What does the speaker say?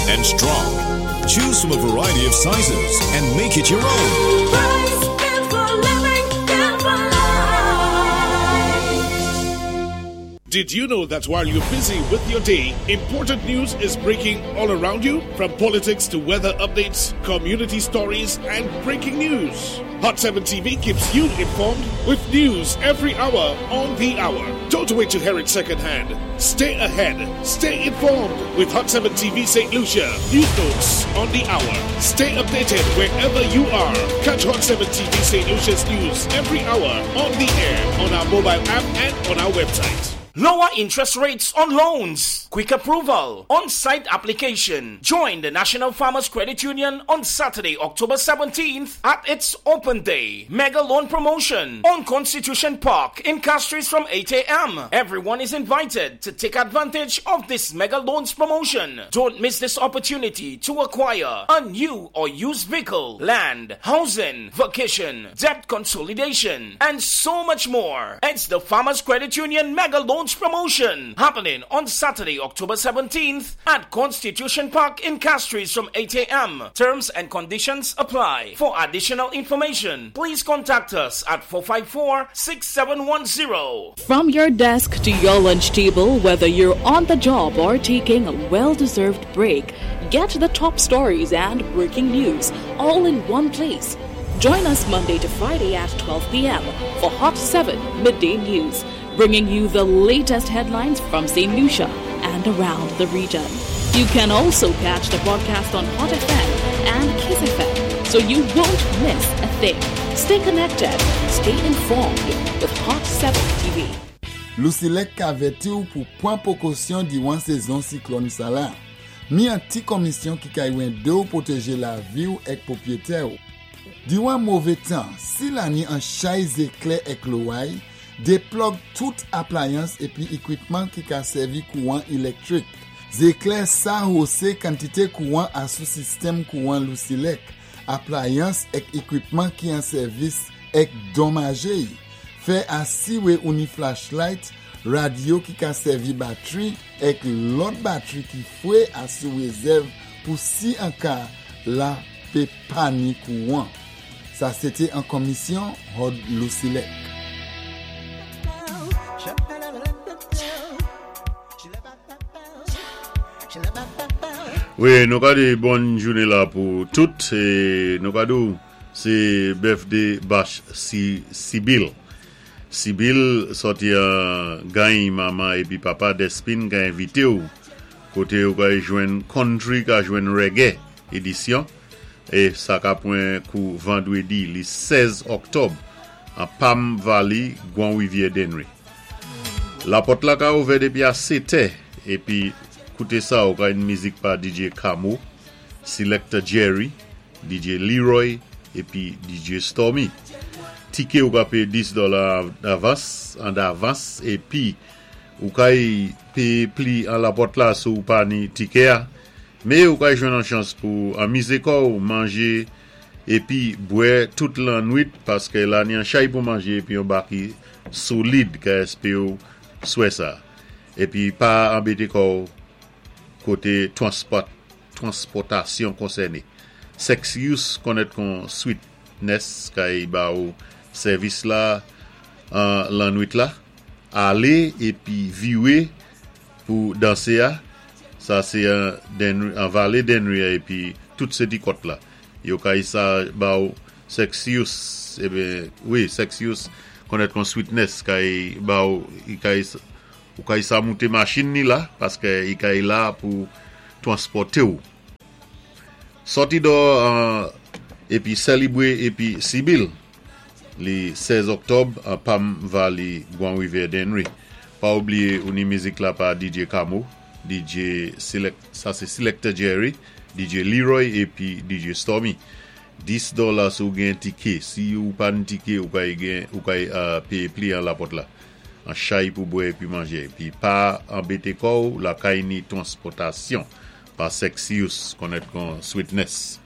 and strong. Choose from a variety of sizes and make it your own. Price, built for living, built for life. Did you know that while you're busy with your day, important news is breaking all around you? From politics to weather updates, community stories, and breaking news. Hot 7 TV keeps you informed with news every hour on the hour. Don't wait to hear it secondhand. Stay ahead. Stay informed with Hot 7 TV St. Lucia. News notes on the hour. Stay updated wherever you are. Catch Hot 7 TV St. Lucia's news every hour on the air, on our mobile app, and on our website. Lower interest rates on loans, quick approval, on site application. Join the National Farmers Credit Union on Saturday, October 17th at its Open Day Mega Loan Promotion on Constitution Park in Castries from 8 a.m. Everyone is invited to take advantage of this Mega Loans promotion. Don't miss this opportunity to acquire a new or used vehicle, land, housing, vacation, debt consolidation, and so much more. It's the Farmers Credit Union Mega Loans Promotion happening on Saturday, October 17th at Constitution Park in Castries from 8 a.m. Terms and conditions apply. For additional information, please contact us at 454 6710. From your desk to your lunch table, whether you're on the job or taking a well deserved break, get the top stories and breaking news all in one place. Join us Monday to Friday at 12 p.m. for Hot 7 Midday News, bringing you the latest headlines from St. Lucia and around the region. You can also catch the broadcast on Hot FM and Kiss FM, so you won't miss a thing. Stay connected, stay informed with Hot 7 TV. Lusilek ka avèti ou pou pwan pwékosyon diwan sézon siklòn sa la. Ni an ti komisyon ki kay wende ou pwotéjé lavi ou èk pwopwétè ou. Diwan mové tan, si la ni an chay zéklè èk loway, déplòg tout aplayans épi ékwipman ki ka sèvi kouwan ilektwik. Zéklè sa hosé kantité kouwan asou sistèm kouwan Lusilek, aplayans èk ékwipman ki an sèvis èk donmajé. Fè asiwé ou ni flashlight, radyo ki ka sèvi batwi èk lòt batwi ki fwé asou rézèv pou si an ka la pé pa ni kouwan. Sa sété an komisyon Hod Lusilek. Wi, nou ka di bòn jounen la pou tout e nou ka di w se birthday bash Sibyl. Sibyl sòti an gany manman epi papa Despin ka envite w kote ou ka jwenn country ka jwenn reggae edisyon e sa ka pran kou vandredi li 16 oktòb an Palm Valley Gwan Rivyè Dennery. Lapòt la ka ouvè depi a 7 è epi koute sa ou ka jwenn mizik pa DJ Kamo, Selector Jerry, DJ Leroy epi DJ Stormy. Tiké ou ka péyé 10 dòla davans an davans epi ou kay péyé pli an lapòt la si ou pa ni tiké a. Mé ou kay jwenn an chans pou anmizé kòw, manjé epi bwè tout lannwit paské la ni an chay pou manjé epi yon baki solid ka èspé ou swè sa. Epi pa anbété kòw koté transpòt transpòtasyon konsène. Sexius konnèt kon Sweetness kay ba ou sèvis la an lannwit la. Ale epi viwe pou danse a. Sa se an Dennery, an vale Dennery a epi tout se ti kòt la. Yo kay sa ba ou Sexius eben wi Sexius konnèt kon Sweetness kay ba ou kay Ou kay sa moute machin ni la paske i kay la pou twanspòte w. Sòti dò an epi sèlibre epi sibi l li 16 oktòb an Pam Valley Gwan Rivyè Dennery. Pa oubliye ou ni mizik la pa DJ Kamo, DJ Select sa se Selector Jerry, DJ Leroy epi DJ Stormy. 10 dòla si w gen tike, si ou pa n tike ou kay gen ou kay peye pli an lapòt la. An chay pou bwè epi manje. Epi pa anbete kò w lakay ni transpòtasyon pa Sexius konnèt kon Sweetness.